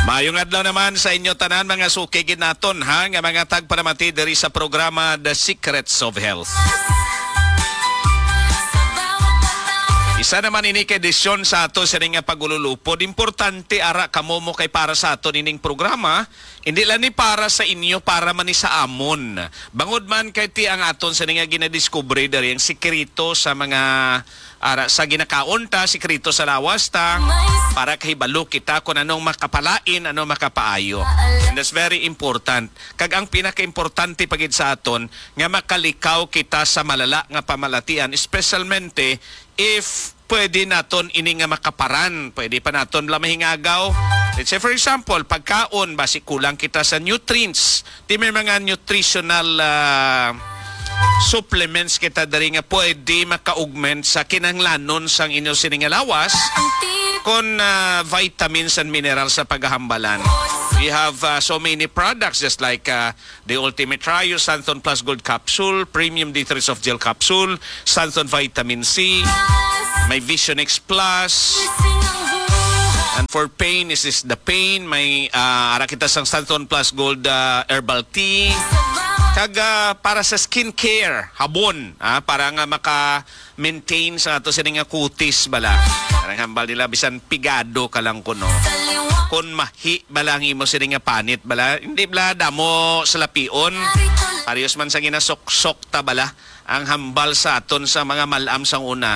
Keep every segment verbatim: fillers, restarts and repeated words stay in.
Maayong adlaw naman sa inyo tanan, mga suki gid naton, ha, nga mga tagpalamati diri sa programa The Secrets of Health. Isa naman ini ka edisyon sa ato sini nga pagululupod. Importante ara kamo mo kay para sa ato nining programa, hindi lang ni para sa inyo, para man ni sa amon. Bangod man kay ti ang aton sini nga ginadiskubre diri ang sikreto sa mga ara sa ginakaon ta, sikreto sa lawas ta, para kahibalo kita kung anong makapalain, ano makapaayo. And that's very important. Kag ang pinakaimportante pa gid sa aton nga makalikaw kita sa malala nga pamalatian, especialmente if pwede naton ini nga makaparan, pwede pa naton bala mahingagaw. Let's say, for example, pagkaon, basi kulang kita sa nutrients. Ti may mga nutritional, ah, supplements kita diri nga pwede maka-augment sa kinahanglanon sang inyo sini nga lawas, kon, ah, vitamins and minerals sa pagahambalan. We have, ah, so many products, just like, ah, the Ultimate Trio, Santon Plus Gold Capsule, Premium D three Soft Gel Capsule, Santon Vitamin C, may Vision X Plus. And for pain, is this the pain? May, ah, ara kita sang Santon Plus Gold, ah, Herbal Tea. Kag, ah, para sa skincare, habon, ah, para nga maka-maintain sa ato sini nga kutis bala. Parang hambal nila, bisan pigado ka lang kuno. Kun mahi bala ang imo sini nga panit bala, hindi bala damo salapion. Parehas man sa ginasuksok ta bala ang hambal sa aton sa mga mal-am sang una.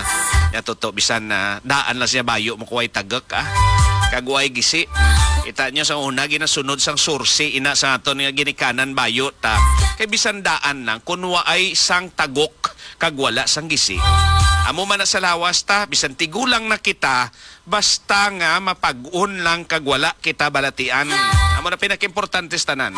Nya tuto, bisan na daan lang siya bayo mo kuway tagek, ah. Kag way gisi. Kita nyo sa una, ginasunod sang sursi, ina sa aton nga ginikanan bayo ta. Kay bisan daan lang, kun waay sang tagok, kag wala sang gisi. Amo man na sa lawas ta, bisan tigulang na kita, basta nga mapag-on lang kag wala kita balatian. Amo na pinakaimportante sa tanan.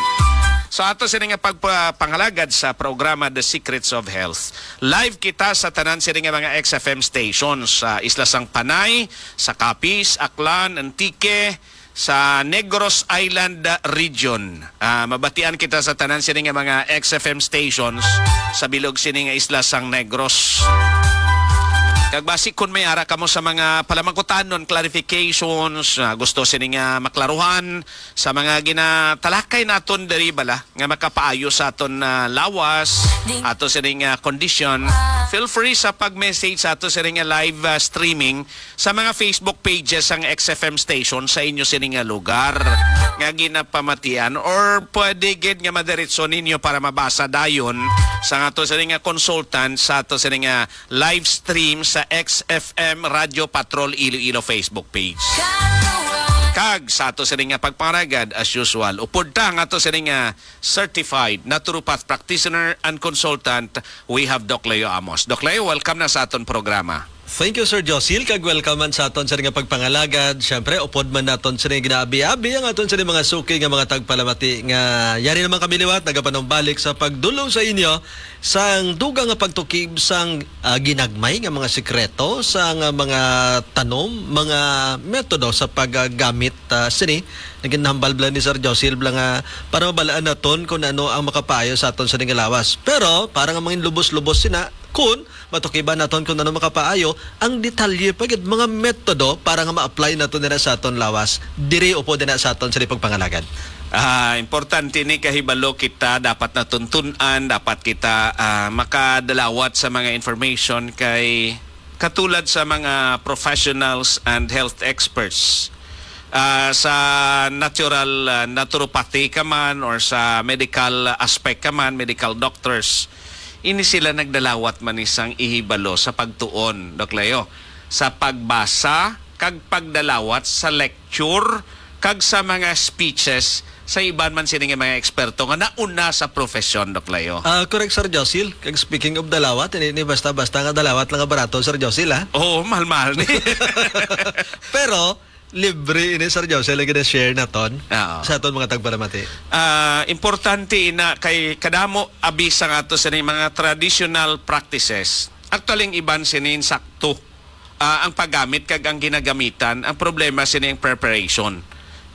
So ato sini nga pagpapangalagad sa programa The Secrets of Health. Live kita sa tanan sini nga mga X F M stations sa Isla sang Panay, sa Capiz, Aklan, Antique, sa Negros Island Region. Ah, mabatian kita sa tanan sini nga mga X F M stations sa bilog sini nga isla sang Negros. Kag basi kun may ara kamo sa mga palamangkutanon, clarifications, ah, gusto sini nga maklaruhan sa mga ginatalakay naton diri bala nga makapaayo sa aton, ah, lawas, ato sini nga kondisyon, feel free sa pag-message sa ato sini nga live, ah, streaming sa mga Facebook pages sang X F M station sa inyo sini nga lugar nga ginapamatian, or pwede gid nga madiretso ninyo para mabasa dayon sa ato sini nga consultant sa ato sini nga live stream sa X F M Radio Patrol Iloilo Facebook page. Kag sa ato sini nga pagpangaragad, as usual, upod ta nga ato sini nga certified naturopath practitioner and consultant, we have Doc Leo Amos. Doc Leo, welcome na sa aton programa. Thank you, Sir Josil, kag welcome man sa aton sa nga pagpangalagad. Siyempre, upod man naton sa ginaabi-abi ang aton sa mga suki nga mga tagpalamati nga yari naman kami liwat, nagapanumbalik sa pagdulong sa inyo sang dugang nga pagtukib sang, ah, ginagmay nga mga sikreto sang, ah, mga tanom, mga metodo sa paggamit, ah, sini. Naging hambal bala ni Sir Josil bala nga para mabalaan naton kung ano ang makapaayo sa aton sa nga lawas. Pero para nga mangin lubos-lubos sina, kun matukiban naton kung ano makapaayo, ang detalye pa gid, mga metodo para nga ma-apply naton dira sa aton lawas, diri upo dira sa aton sa pagpangalagad. Ah, importante ni kahibalo kita, dapat natuntun-an, dapat kita, ah, makadalawat sa mga information kay katulad sa mga professionals and health experts, ah, sa natural, ah, naturopathy ka man or sa medical aspect ka man, medical doctors, ini sila nagdalawat man ni sang ihibalo sa pagtuon, Doc Leo, sa pagbasa kag pagdalawat sa lecture kag sa mga speeches sa iban man sini nga mga eksperto nga nauna sa profesyon, Doc Leo. Ah, correct, Sir Josil. Kag speaking of dalawat, hindi ni basta-basta nga dalawat lang nga barato, Sir Josil, ha? Oo, mahal-mahal ni. Pero, libre ini, Sir Josil, ang gina-share naton Oo. sa aton mga tagpalamati. Ah, importante ina kay kadamo abi sa ato sa mga traditional practices. Actually, ang iban sini insakto. Ah, ang paggamit kag ang ginagamitan, ang problema sini ang preparation.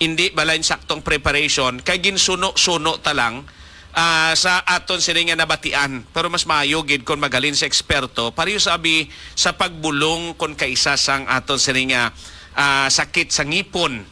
Hindi bala insaktong preparation, kay ginsuno-suno ta lang, ah, sa aton sini nga nabatian. Pero mas maayo gid kon maghalin sa eksperto, pareho sa abi sa pagbulong kon kaisa sang aton sini nga, ah, sakit sa ngipon.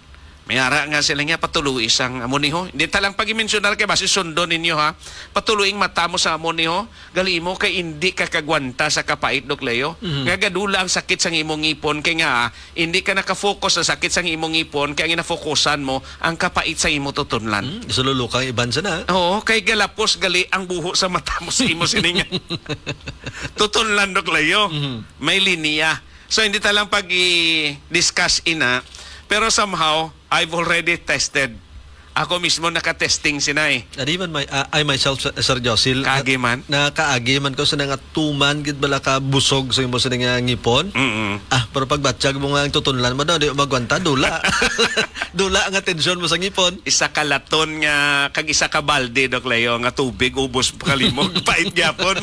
May ara nga sila nga, "Patuloi sang amo ni ho." Hindi ta lang pag-mensionar kay basi sundon ninyo, ha. "Patuloi ang mata mo sa amo ni ho. Gali mo kay hindi ka kagwanta sa kapait, Doc Leo. Mhm. Nga gadula ang sakit sang imong ngipon kay nga, ah, hindi ka nakafocus sa sakit sang imong ngipon kay ang ginafokusan mo ang kapait sa imo tutunlan." Hmm, isululukang iban sana. Oo, kay galapos gali ang buho sa mata mo sa imo siningan. Tutunlan, Doc Leo. Mhm. May linya. So, hindi ta lang pag-i-discuss ina. Pero somehow, I've already tested. Ako mismo naka-testing sina eh. And even my, uh, I myself, Sir, Sir Josil, Kaagi man? Na, nakaagi man ko sa nga tuman gid bala ka busog sa imo sa nga ngipon. Mm-mm. Ah, pero pagbatyag mo nga ang tutunlan mo daw, di magwanta, dula. Dula ang atensyon mo sa ngipon. Isa ka laton nga, kag isa ka balde, Doc Leo, nga tubig, ubos pa kalimog, pait gyapon.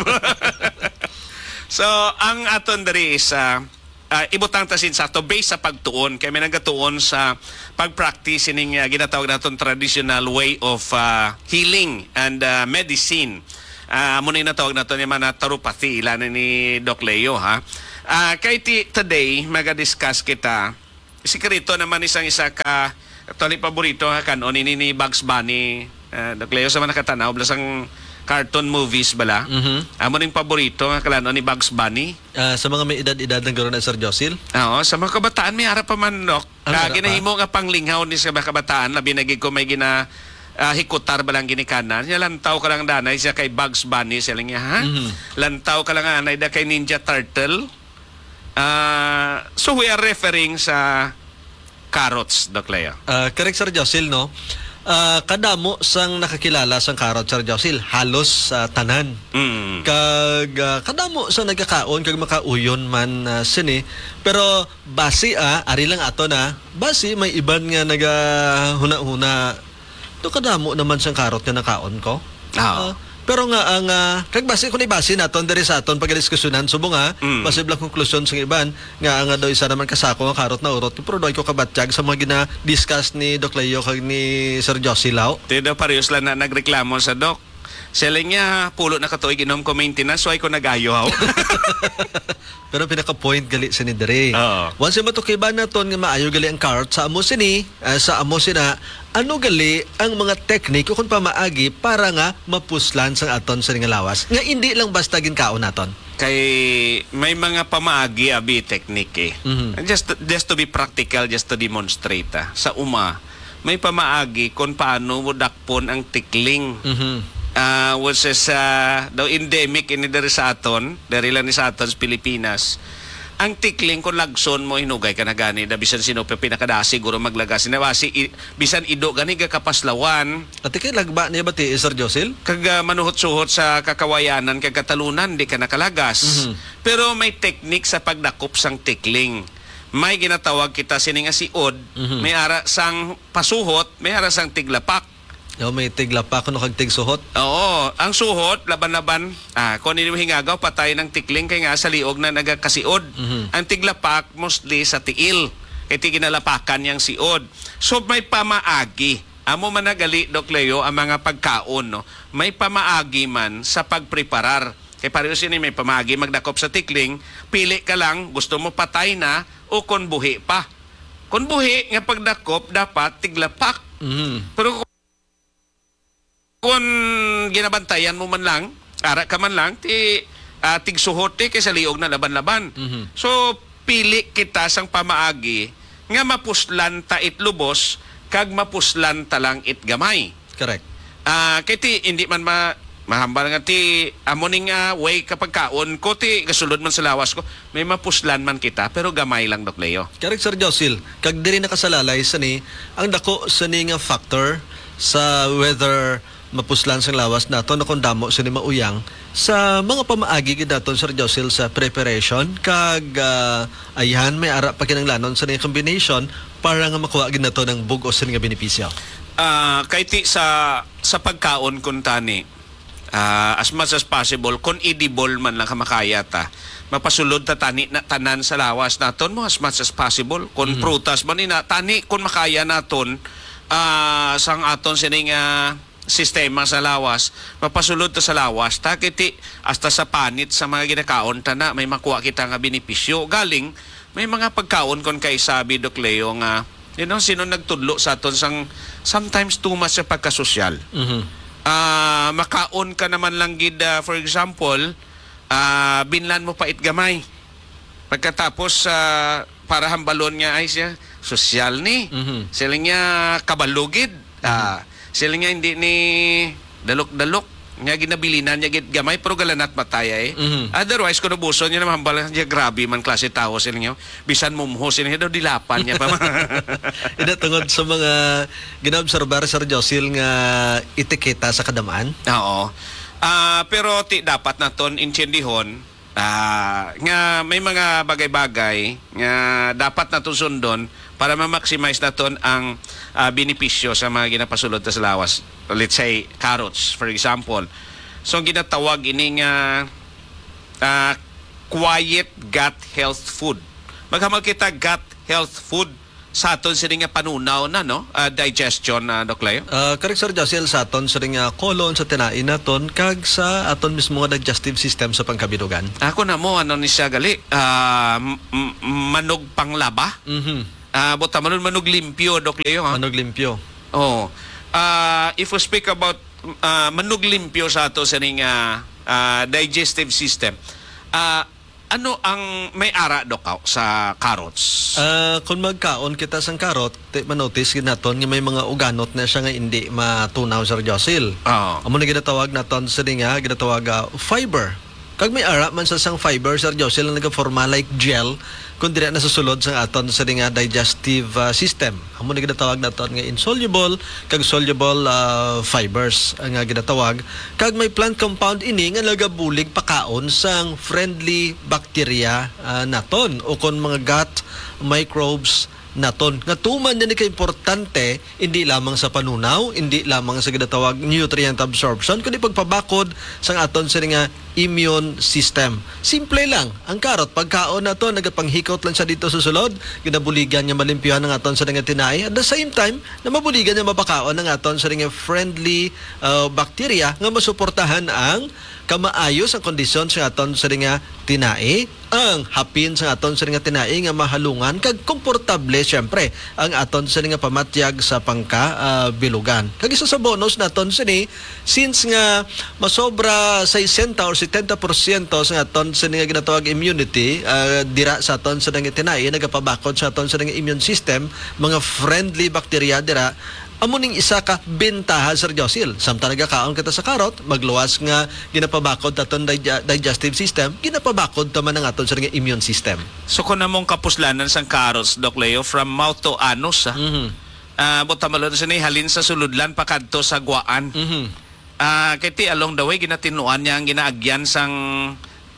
So, ang aton diri is, ah, ah, ibutang ta sin sakto based sa pagtuon, kay may nagatuon sa pag-practice sining, ah, ginatawag naton traditional way of, ah, healing and, ah, medicine. Ah, amo na yung natawag naton yung mga naturopathy, ila na ni Doc Leo, ha. Ah, kay ti-, today, maga-discuss kita. Sikreto naman isang isa ka, actually, paborito nga kanon ini ni Bugs Bunny. Ah, Doc Leo, sa mga nakatanaw, bala sang cartoon movies bala. Mhm. Amo ning paborito nga kalanon ni Bugs Bunny. Ah, sa mga may edad-edad lang guro na, Sir Josil? Oo, sa mga kabataan, may ara pa man, Doc. Ang Ah, ara pa? ginahimo nga panglinghaw ni sa mga kabataan, labi na gid ko may gina, ah, hikutar ba lang ginikanan. Siya lantaw ka lang danay siya kay Bugs Bunny, siya lang niya, ha? Mhm. Lantaw ka lang anay da kay Ninja Turtle. Ah, so we are referring sa carrots, Doc Leo. Ah, correct, Sir Josil, no? Ah, kadamo sang nakakilala sang carrot, Sir Josil, halos, ah, tanan. Mm. Kag, ah, kadamo sa nagkakaon kag makauyon man, ah, sini. Pero basi, ah, ari lang ato na, basi may iban nga nagahuna-huna, "Do kadamo naman sang karot nga nakaon ko?" Ah. Ah, pero nga ang, ah, kag basi kung ibasi naton diri sa aton pagdiskusyonan, subong, ah, Mm. posible ang konklusyon sa iban nga ang, ah, daw isa naman ka sako nga karot na urot, pero daw ko kabatyag sa mga gina-discuss ni Doc Leo kag ni Sir Josie Lau. Ti daw parehas lang na nagreklamo sa Doc. Siling niya, "Pulo na ka tuig inom ko maintenance, why ko nag-ayo, haw?" Pero pinaka-point gali sini diri. Oo. Once matukiban naton nga maayo gali ang carrot sa amo sini, ah, sa amo sina, ano gali ang mga teknik o kung pamaagi para nga mapuslan sang aton sini nga lawas? Nga indi lang basta ginkaon naton. Kay may mga pamaagi abi teknik eh. Mhm. Just, just to be practical, just to demonstrate, ah. Sa uma, may pamaagi kung paano mo dakpon ang tikling. Mhm. Ah, which is, ah, daw endemic ini diri sa aton, diri lang ni sa aton sa Pilipinas. Ang tikling, kung lagson mo, hinugay ka na gani, na bisan sino pa pinakadasi, siguro maglagas. Na basi, i-, bisan ido gani, gakapaslawan. Ati kay lagba niya ba ti, Sir Josil? Kag, ah, manuhot-suhot sa kakawayanan, kag katalunan, di ka nakalagas. Mhm. Pero may teknik sa pagdakop sang tikling. May ginatawag kita sini nga siod, Mhm. may ara sang pasuhot, may ara sang tiglapak. Yo, may tiglapak kuno kag tigsuhot. Oo, ang suhot, laban-laban, ah, kung ano yung hingagaw, patay ng tikling, kay nga sa liog na nagakasiod. Mhm. Ang tiglapak, mostly sa tiil. Kay ti ginalapakan niyang siod. So, may pamaagi. Amo man nagali, Doc Leo, ang mga pagkaon, no? May pamaagi man sa pagpreparar. Kay pareho sini, may pamaagi magdakop sa tikling, pili ka lang, gusto mo patay na o kon buhi pa. Kon buhi nga pagdakop, dapat tiglapak. Mhm. Pero kon ginabantayan mo man lang, ara ka man lang, ti, ah, tigsuhot ti kay sa liog na laban-laban. Mhm. So, pili kita sang pamaagi nga mapuslan ta it lubos kag mapuslan ta lang it gamay. Correct. Ah, kay ti, hindi man ma-, mahambal nga ti, amo ning, ah, way kapag kaon ko, ti, gasulod man sa lawas ko, may mapuslan man kita, pero gamay lang, Doc Leo. Correct, Sir Josil. Kag diri nakasalalay sa ni, ang dako sa ni nga factor sa whether mapuslan sang lawas nato na kung damo sini mauyang sa mga pamaagi gid naton, Sir Josil, sa preparation kag, ah, ayan, may ara pa kinahanglanon sa ni combination para nga makuha gid nato ng bug-os sini nga benepisyo. Ah, kay ti sa, sa pagkaon kun tani, ah, as much as possible, kung edible man lang ka makaya ta, mapasulod ta tani na tanan sa lawas naton mo as much as possible. Kung Mhm. prutas man ina, tani kung makaya naton, ah, sang aton sining, ah, sistema sa lawas, mapasulod ta sa lawas, ta kiti hasta sa panit sa mga ginakaon ta na, may makuha kita nga benepisyo. Galing, may mga pagkaon kon kay sabi, Doc Leo, nga You know, sino nagtudlo sa aton sang sometimes too much sa pagkasosyal? Mhm. Ah, makaon ka naman lang gid, ah, for example, ah, binlan mo pait gamay. Pagkatapos, ah, para hambalon nga, "Ay, siya, sosyal ni." Mhm. Sila niya, "Kabalo gid." Mhm. Ah, sila niya, "Hindi ni dalok-dalok." Nga ginabilinan niya gid gamay, pero galanat matay, eh. Mhm. Otherwise, kung ubuson niya naman, hambal niya, "Grabe man klase tawo," sila niya. Bisan mumho, sila niya daw, dilapan niya pa. Ina, tungod sa mga ginaobserbar, Sir Josil, nga etiketa sa kadamaan? Oo. Ah, pero ti, dapat naton intiendihon, ah, nga may mga bagay-bagay nga dapat naton sundon para ma-maximize naton ang, ah, benepisyo sa mga ginapasulod ta sa lawas. Let's say, carrots, for example. So, ang ginatawag ini nga, ah, quiet gut health food. Maghamal kita gut health food sa aton sini nga panunaw na, no? Ah, digestion, ah, Doc Leo? Ah, correct, Sir Josil, sa aton sini nga colon, sa tinai naton, kag sa aton mismo nga digestive system sa pangkabilugan. Ako na mo, ano ni siya gali? Ah, m- m- manog panglaba? Mhm. Ah, buta manon, manog limpyo, Doc Leo, ha? Manog limpyo. Oh. Ah, if we speak about, ah, manog limpyo sa ato sini nga, ah, digestive system, ah, ano ang may ara, Doc, sa carrots? Ah, kung magkaon kita sang karot, ti, manotice gid naton nga may mga uganot na siya nga indi matunaw, Sir Josil. Oo. Amo na ginatawag naton sini nga, ginatawag, ah, fiber. Kag may ara man sa sang fiber, Sir Josil, nga nagaforma like gel, kung dira nasusulod sang aton sini nga digestive, ah, system. Amo na ginatawag naton nga insoluble kag soluble, ah, fibers, ah, nga ginatawag. Kag may plant compound ini nga nagabulig pakaon sang friendly bacteria, ah, naton, o kon mga gut microbes naton. Nga tuman niya ni kaimportante, hindi lamang sa panunaw, hindi lamang sa ginatawag nutrient absorption, kundi pagpabakod sang aton sini nga immune system. Simple lang, ang karot, pagkaon nato, nagapanghikot lang siya dito sa sulod, ginabuligan niya malimpyuhan ang aton sini nga tinai. At the same time, na mabuligan niya mapakaon ang aton sini nga friendly, uh, bacteria nga masuportahan ang kamaayo sang kondisyon sa aton sini nga tinai, ang hapin sa aton sini nga tinai nga mahalungan kag komportable, siyempre, ang aton sini nga pamatyag sa pangka, ah, bilugan. Kag isa sa bonus naton sini, since nga masobra sesenta or setenta porsyento sa aton sini nga ginatawag immunity, ah, dira sa aton sini nga tinai, nagapabakod sa aton sini nga immune system, mga friendly bacteria dira, amo ning isa ka bentaha, Sir Josil. Samtang nagakaon kita sa karot, magluwas nga ginapabakod ta aton dig-, digestive system, ginapabakod ta man ang aton, sir, nga immune system. So, kung among kapuslanan sang carrots, Doc Leo, from mouth to anus, ah, Mhm. ah, buta malod sa ni, halin sa sulodlan pakadto sa guwaan. Mhm. Ah, kay ti along the way, ginatinuan niya ang ginaagyan sang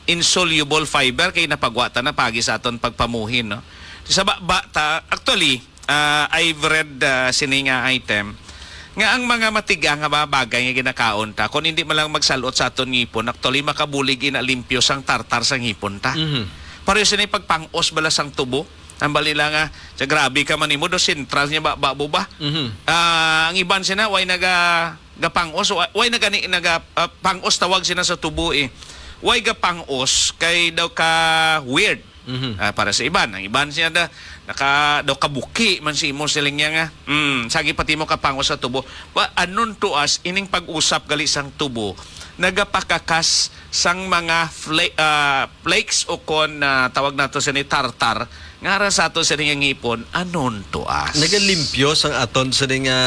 insoluble fiber kay napagwa ta na pagi sa aton pagpamuhin, no? Sa ba, ba ta, actually, ah, I've read, ah, sini nga item nga ang mga matiga nga mga bagay nga ginakaon ta, kung hindi man lang magsalot sa aton ngipon, actually makabulig ina limpyo sang tartar sa ngipon ta. Mhm. Pareho sini pagpangos bala sang tubo. Ang bali lang nga, sa grabe ka man nimo, do sentral niya ba, ba, ba? Mhm. Ah, ang iban sina, way naga gapangos, wa-, way na gani naga, ah, pangos tawag sina sa tubo, eh. Way gapangos kay daw ka weird. Mhm. Ah, para sa iban, ang iban siya da, naka, daw kabuki man si imo siling niya nga. Mm, sagi pati mo kapangos sa tubo. Wa, anon to us, ining pag-usap gali sang tubo, nagapakakas sang mga fla-, ah, flakes o kon, ah, tawag nato sini tartar, nga ara sa ato sini nga ngipon, anon to us. Nagalimpyo sang aton sini nga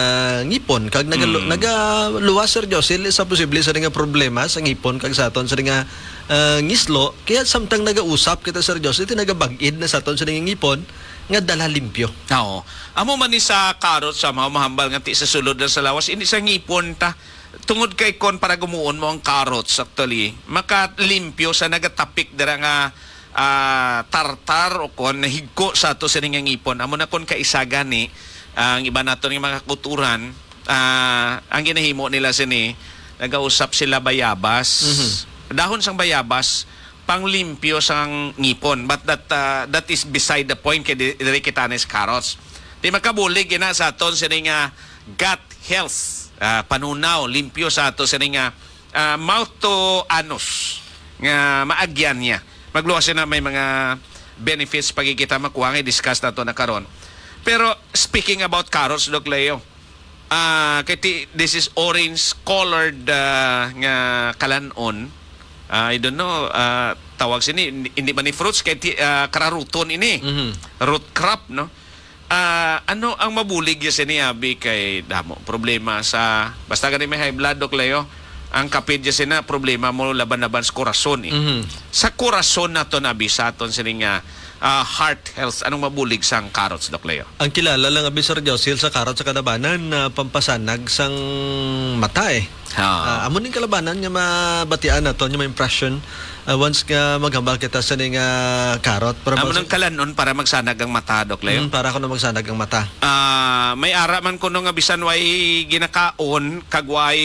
ngipon, kag nagalu-, Mm. nagaluwas, Sir Josil, sa posible sini nga problema sa ngipon kag sa aton sini nga, ah, ngislo. Kaya samtang nagausap kita, Sir Josil, ti nagabag-id na sa aton sini nga ngipon nga dala limpyo. Oo. Amo man ni sa karot sa mga mahambal nga ti sa sulod na sa lawas, hindi sa ngipon ta. Tungod kay kon para gumuon mo ang carrots, actually, makalimpyo sa nagatapik dira nga, ah, tartar o kon nahigko sa ato sini nga ngipon. Amo na kon kaisa gani, ang iba naton nga mga kakulturan, ah, ang ginahimo nila sini, nagausap sila bayabas. Mhm. Dahon sang bayabas, panglimpyo sang ngipon. But that, ah, that is beside the point kay di-, diri kita ni sa carrots. Di makabulig ina sa aton sini nga gut health, ah, panunaw, limpyo sa ato sini nga, ah, mouth to anus nga maagyan niya. Magluwas na may mga benefits pagkikita makuha nga i-discuss nato na karon. Pero speaking about carrots, Doc Leo, ah, kay ti-, this is orange colored, ah, nga kalanon. Ah, I don't know, ah, tawag sini, hindi, hindi man ni fruits, kay ti-, ah, kararuton ini. Mhm. Root crop, no? Ah, ano ang mabulig ya sini, abi, kay damo problema sa, basta gani may high blood, Doc Leo, ang kapid ya sina problema mo laban-laban sa korason, eh. Mhm. Sa korason naton, abi, sa aton sini nga, ah, heart health, anong mabulig sang carrots, Doc Leo? Ang kilala lang, abi, Sir Josil, sa carrots sa kalabanan na pampasanag sang mata, eh. Ha. Ah, amo ning kalabanan nga mabatian naton, nga ma-impression, ah, once nga maghambal kita sa ning, ah, carrot. Para Amo mag- nang kalanon para magsanag ang mata, Doc Leo? Mm, para kuno magsanag ang mata. Ah, may ara man kuno nga bisan way ginakaon, kag way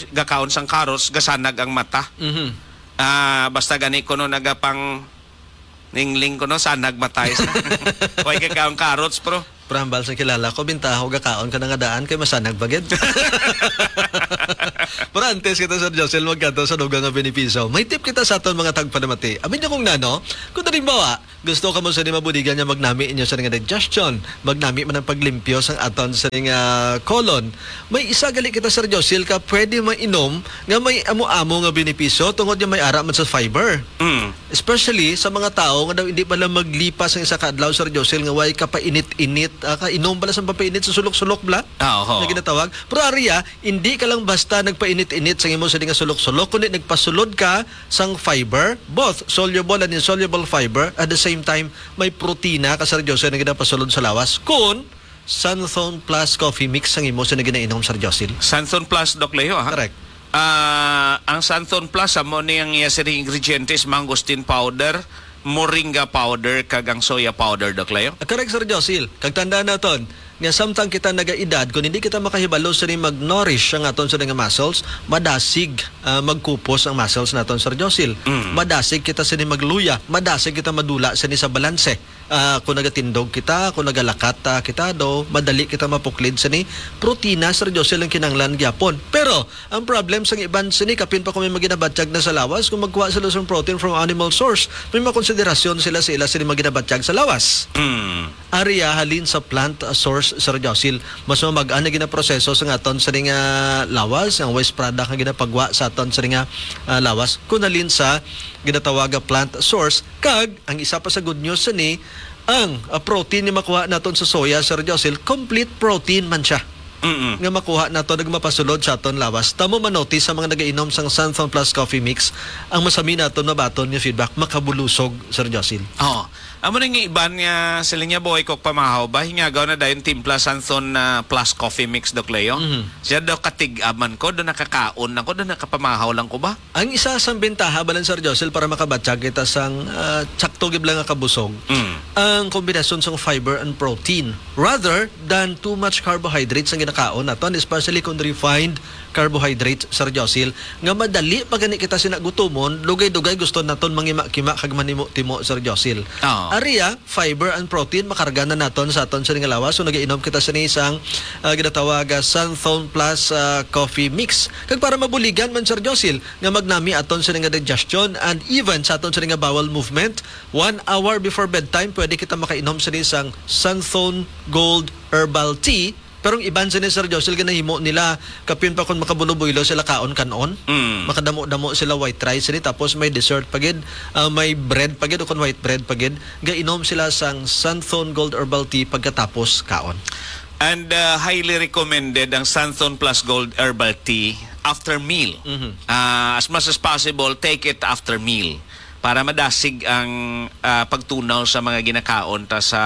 gakaon sang carrots, gasanag ang mata. Mhm. Ah, basta gani kuno nagapang ningling kuno, sanag matay sa. Way kay kaon carrots, bro. Pero hambal sa kilala ko, bintaha ko gakaon ka na nga daan kay masanag ba gid? Pero antes kita, Sir Josel, magkadto sa dugang nga benepisyo, may tip kita sa aton mga tagpanamati. Amin niyo kung nano, kung halimbawa, gusto ka mo sa di mabuligan nga magnami inyo sa nga digestion, magnami man ang paglimpyo sang aton sa nga colon. May isa gali kita, Sir Josil, ka pwede mainom nga may amo-amo nga benepisyo tungod nga may ara man sa fiber. Mm. Especially sa mga tawo nga daw hindi pala maglipas ang isa ka adlaw, Sir Josil, nga way kapainit-init, ah, kainom pala sa pampainit sa sulok-sulok bla Ah, oho. na ginatawag. Pero ariya, hindi ka lang basta nagpainit-init sa imo sa di nga sulok-sulok, kundi nagpasulod ka sang fiber, both soluble and insoluble fiber. At the same time, may protina ka, Sir Josil, na ginapasulod sa lawas. Kun Santhon Plus Coffee Mix ang imo sa ginainom, Sir Josil. Santhon Plus, Doc Leo, ha? Correct. Ah, ang Santhon Plus, amo ni ang iya sini ingredientes, mangosteen powder, moringa powder, kag ang soya powder, Doc Leo. Ah, correct, Sir Josil. Kag tandaan naton, nga samtang kita nagaedad, kung hindi kita makahibalo sini mag-nourish ang aton sini nga muscles, madasig, ah, magkupos ang muscles naton, Sir Josil. Mm. Madasig kita sini magluya, madasig kita madula sini sa balanse. Ah, kung nagatindog kita, kung nagalakat, ah, kita, do, madali kita mapuklid sini. Protina, Sir Josil, ang kinahanglan gyapon. Pero ang problem sang iban sini, kapin pa kung may maginabatyag na sa lawas, kung magkuha sila sang protein from animal source, may makonsiderasyon sila sa ila sini maginabatyag sa lawas. Mm. Ariya halin sa plant, ah, source, Sir Josil, mas mamag-an na ginaproseso sa aton sini nga lawas, ang waste product nga ginapagwa sa aton sini nga, ah, lawas, kun halin sa ginatawag nga plant source. Kag ang isa pa sa good news sini, ang, ah, protein nga makuha naton sa soya, Sir Josil, complete protein man siya. Mm-mm. Nga makuha naton, nagmapasulod sa aton lawas. Tamo manotis sa mga nagainom sang Santhon Plus Coffee Mix, ang masami naton mabaton nga feedback, makabulusog, Sir Josil. Oo. Amo na nga iban nga sila niya, boy, kok pamahaw ba? Hingagaw na dayon timpla Santhon na Plus Coffee Mix, Doc Leo. Mhm. Siya daw katig-aman ko, daw nakakaon lang ko, daw nakapamahaw lang ko ba? Ang isa sang bentaha, balan, Sir Josil, para makabatyag kita sang, ah, tsakto gid lang nga kabusog, Mm. ang kombinasyon sang fiber and protein rather than too much carbohydrates ang ginakaon naton, especially kung refined carbohydrates, Sir Josil, nga madali pa gani kita sina gutumon, dugay-dugay gusto naton mangima-kima kag manimo-timo, Sir Josil. Oo. Ariya, fiber and protein, makarga na naton sa aton sini nga lawas. So, nagainom kita sini sang, ah, ginatawag, ah, Santhon Plus, ah, Coffee Mix. Kag para mabuligan man, Sir Josil, nga magnami aton sini nga digestion and even sa aton sini nga bowel movement, one hour before bedtime, pwede kita makainom sini sang Santhon Gold Herbal Tea. Pero ang iban sini, Sir Josil, ginahimo nila kapin pa kung makabulo-builo sila kaon kan-on. Mm. Makadamo-damo sila white rice sini, tapos may dessert pa gid, ah, may bread pa gid, o kung white bread pa gid. Gainom sila sang Santhon Gold Herbal Tea pagkatapos kaon. And, uh, highly recommended ang Santhon Plus Gold Herbal Tea after meal. Mhm. Uh, as much as possible, take it after meal para madasig ang, uh, pagtunaw sa mga ginakaon ta sa,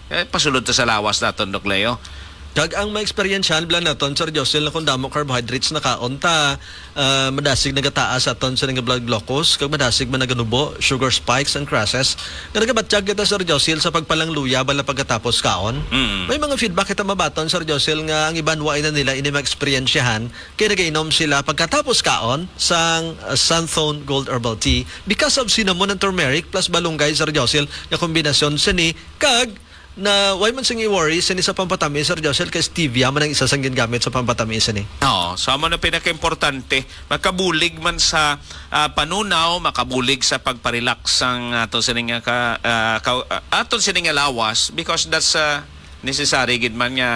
eh, pasulod ta sa lawas naton, Doc Leo. Kag ang maeksperiensyahan bala naton, Sir Josel, na kung damo carbohydrates na kaon ta, ah, madasig nagataas aton sa nga blood glucose, kag madasig man naganubo, sugar spikes and crashes. Nga nagabatyag kita, Sir Josil, sa pagpalangluya bala pagkatapos kaon. Mm. May mga feedback kita mabaton, Sir Josil, nga ang iban wa na nila ini maeksperiensyahan, kay nagainom sila pagkatapos kaon sang, uh, Santhone Gold Herbal Tea because of cinnamon and turmeric plus balunggay, Sir Josil, nga kombinasyon sini kag na, why man sing i-worry sini sa pampatamis, Sir Josel, kay stevia man ang isa sang gingamit sa pampatamis sini. Oo, so amo na pinakaimportante, makabulig man sa, ah, panunaw, makabulig sa pagparelax sang ato sini nga ka, ah, ka, ah, ato sini nga lawas, because that's, ah, necessary gid man nga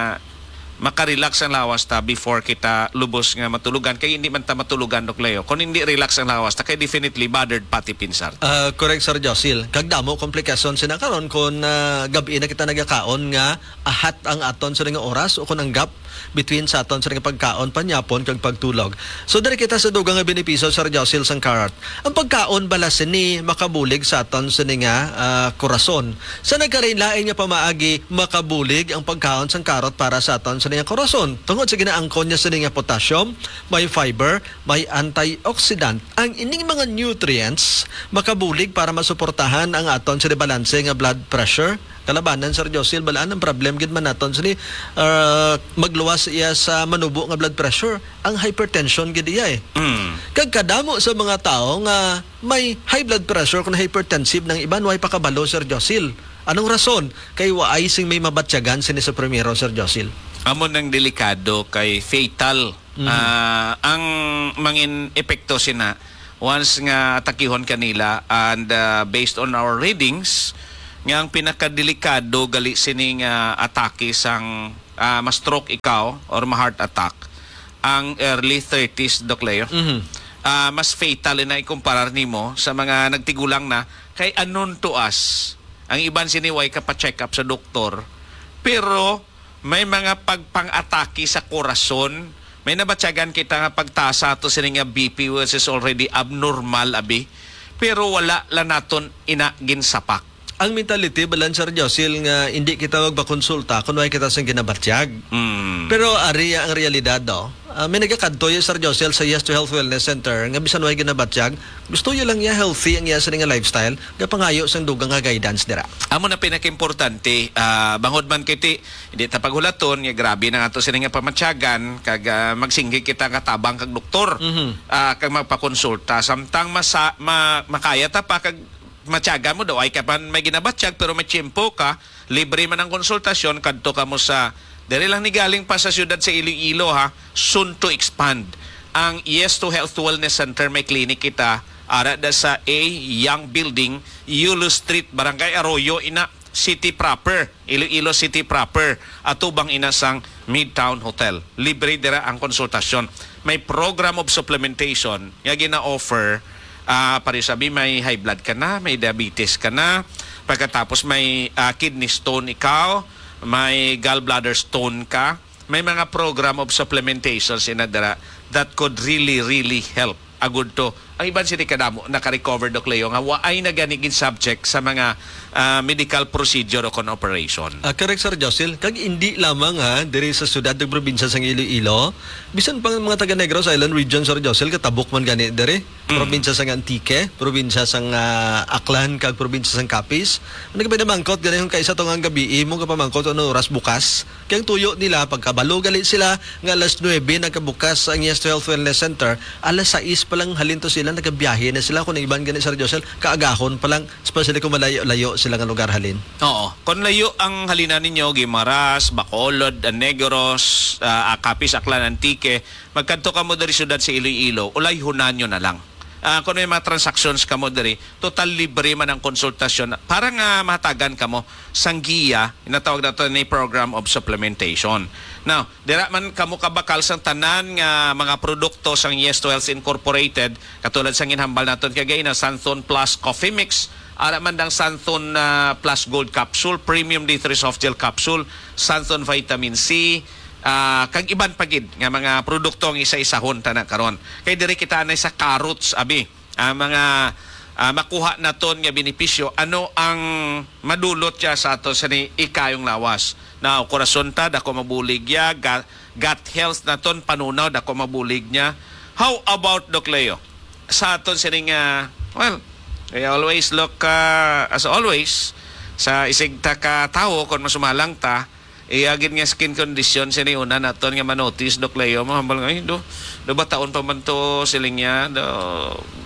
maka-relax ang lawas ta before kita lubos nga matulugan, kay hindi man ta matulugan, Doc Leo, kung hindi relax ang lawas ta, kay definitely bothered pati pinsar. Ah, correct, Sir Josil. Kag damo komplikasyon sina karon kung, ah, gab-i na kita nagakaon nga ahat ang aton sa nga oras o kung ang gap between sa aton sa nga pagkaon, panyapon, kag pagtulog. So, diri kita sa dugang nga benepisyo, Sir Josil, sang carrot. Ang pagkaon bala sini makabulig sa aton sini nga, ah, korason. Sa nagkalain-lain nga pamaagi, makabulig ang pagkaon sang karot para sa aton sini nga korason. Tungod sa ginaangkon niya sini nga potassium, may fiber, may antioxidant. Ang ining mga nutrients makabulig para masuportahan ang aton sini balanse nga blood pressure. Kalabanan, Sir Josil, balaan ang problem gid man naton sini, ah, magluwas iya sa manubo nga blood pressure, ang hypertension gid iya eh. Mm. Kag kadamo sa mga tawo nga may high blood pressure kung hypertensive nang iban, way pakabalo, Sir Josil. Anong rason? Kay waay sing may mabatyagan sini sa primero, Sir Josil. Amo nang delikado kay fatal. Mhm. Ah, ang mangin epekto sina once nga atakihon kanila and, ah, based on our readings, nga ang pinakadelikado gali sini nga atake sang, ah, ma-stroke ikaw or ma-heart attack, ang early thirties, Doc Leo. Mhm. Ah, mas fatal na ikumparar nimo sa mga nagtigulang na, kay unknown to us. Ang iban sini way ka pa-check up sa doktor, pero may mga pagpang-atake sa korason. May nabatyagan kita nga pagtaas sa ato sini nga B P, which is already abnormal, abi. Pero wala lang naton ina ginsapak. Ang mentality, balan, Sir Josil, nga hindi kita magpakonsulta kung way kita sang ginabatyag. Mm. Pero ari ang realidad, no? Ah, may nagakadto ya, Sir Josil, sa Yes to Health Wellness Center nga bisan way ginabatyag, gusto ya lang ya healthy ang iya sini nga lifestyle, gapangayo sang dugang nga guidance dira. Amo na pinakaimportante, ah, bangod man kiti, hindi ta paghulaton nga grabe na ato sini nga pamatyagan, kag, ah, magsinggi kita nga tabang kag doktor, Mhm. ah, kag magpakonsulta. Samtang masa-, ma-, makaya ta pa kag matyaga mo daw, ay ka pa may ginabatyag, pero may tiyempo ka, libre man ang konsultasyon, kadto ka mo sa, diri lang ni galing pa sa siyudad sa Iloilo, ha, soon to expand. Ang Yes to Health Wellness Center, may clinic kita, ara da sa A Young Building, Yulo Street, Barangay Arroyo, ina, city proper, Iloilo City proper, atubang ina sang Midtown Hotel. Libre dira ang konsultasyon. May program of supplementation nga gina-offer, ah, pareho sabi, may high blood ka na, may diabetes ka na, pagkatapos may, ah, kidney stone ikaw, may gallbladder stone ka, may mga program of supplementation sina dira that could really, really help. Agud to, ang iban sini kadamo naka-recover, Doc Leo, nga waay na gani gin-subject sa mga, ah, medical procedure o kon operation. Ah, correct, Sir Josil. Kag indi lamang, ha, diri sa siyudad ug probinsya sang Iloilo, bisan pa ang mga taga Negros Island Region, Sir Josil, katabok man gani diri. Mm. Probinsya sang Antique, probinsya sang, ah, Aklan, kag probinsya sang Capiz. Ano ka pinamangkot gani kung kaisa to nga gabi, imo ka pamangkot ano oras bukas? Kay ang tuyo nila, pagkabalo gali sila nga alas nuebe nagkabukas ang Yes to Health Wellness Center, alas sais pa lang halin to sila, nagabiyahe na sila. Kung ang iban gani, Sir Josel, kaagahon pa lang, especially kung malayo-layo sila nga lugar halin. Oo. Kung layo ang halinan ninyo, Guimaras, Bacolod, Negros, ah, Capiz, Aklan, Antique, magkadto kamo diri siyudad sa Iloilo, ulayhunan nyo na lang. Ah, kung may mga transactions kamo diri, total libre man ang konsultasyon para nga mahatagan kamo sang giya, inatawag nato ni program of supplementation. Now, dira man kamo kabakal sang tanan nga mga produkto sang Yes to Health Incorporated, katulad sang ginhambal naton kagay na Santhon Plus Coffee Mix, ara man dang Santhon, ah, Plus Gold Capsule, Premium D three Soft Gel Capsule, Santhon Vitamin C, ah, kag iban pa gid nga mga produkto ang isa-isahon ta na karon. Kay diri kita anay sa carrots, abi. Ah, mga, ah, makuha naton nga benepisyo, ano ang madulot siya sa ato sa ni ikayong lawas? Na korason ta, dako mabulig ya, ga-, gut health naton, panunaw, dako mabulig niya. How about, Doc Leo? Sa aton sining, ah, well, we always look, ah, as always, sa isig ta ka tawo, kung masumalang ta, iya gid nga skin condition, sini una naton nga manotice, Doc Leo, mo hambal nga, "Ay, do, do ba taon pa man to, siling niya, do,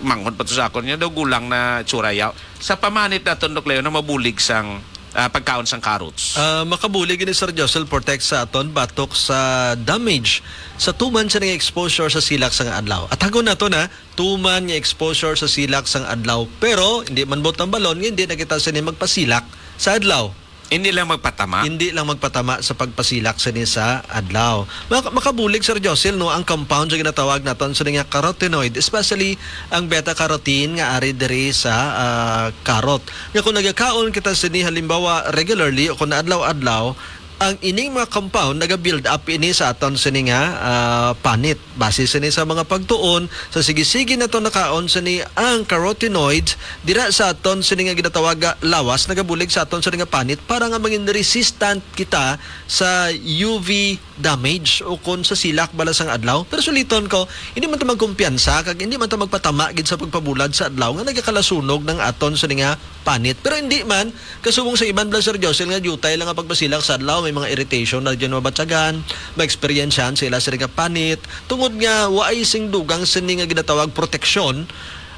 manghod pa to sa akon niya, do, gulang na tsura yaw." Sa pamanit naton, Doc Leo, na mabulig sang, ah, pagkaon sang carrots. Ah, makabulig ini, Sir Josel, protect sa aton batok sa damage sa tuman sa nga exposure sa silak sang adlaw. At hagon nato na, tuman nga exposure sa silak sang adlaw. Pero, hindi man buot ang balon nga hindi na kita sini magpasilak sa adlaw. Hindi lang magpatama. Hindi lang magpatama sa pagpasilak sini sa adlaw. Mak- makabulig, Sir Josil, no, ang compound nga ginatawag naton sini nga carotenoid, especially ang beta-carotene nga ari diri sa ah, carrot. Nga kung nagakaon kita sini halimbawa regularly o kung adlaw-adlaw, ang ining mga compound naga-build up ini sa aton sini nga ah, panit. Base sini sa mga pagtuon, sa sige-sige naton nakaon sini ang carotenoids dira sa aton sini nga ginatawag nga lawas, nagabulig sa aton sini nga panit para nga mangin resistant kita sa U V damage o kon sa silak bala sang adlaw. Pero suliton ko, hindi man ta magkumpiyansa kag hindi man ta magpatama gid sa pagpabulad sa adlaw nga nagakalasunog ng aton sini nga panit. Pero hindi man, kasubong sa iban bala, Sir Josil, nga diutay lang ang pagpasilak sa adlaw, may mga irritation na dyan mabatyagan, ma-experience-an sila sini nga panit, tungod nga waay sing dugang sini nga ginatawag proteksyon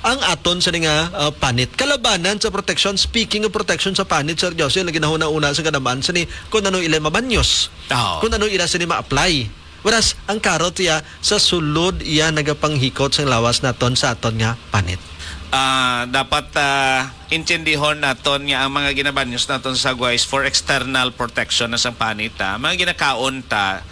ang aton sini nga ah, panit. Kalabanan sa proteksyon, speaking of protection sa panit, Sir Josil, na ginahuna-una sa kadaman sini kung ano ila mabanyos, Oo. kung ano ila sini ma-apply. Whereas, ang karot iya, sa sulod iya nagapanghikot sang lawas naton sa aton nga panit. Ah, dapat ah, intindihon naton nga ang mga ginabanyos naton sa agwa is for external protection na sang panit, ah. Mga ginakaon ta,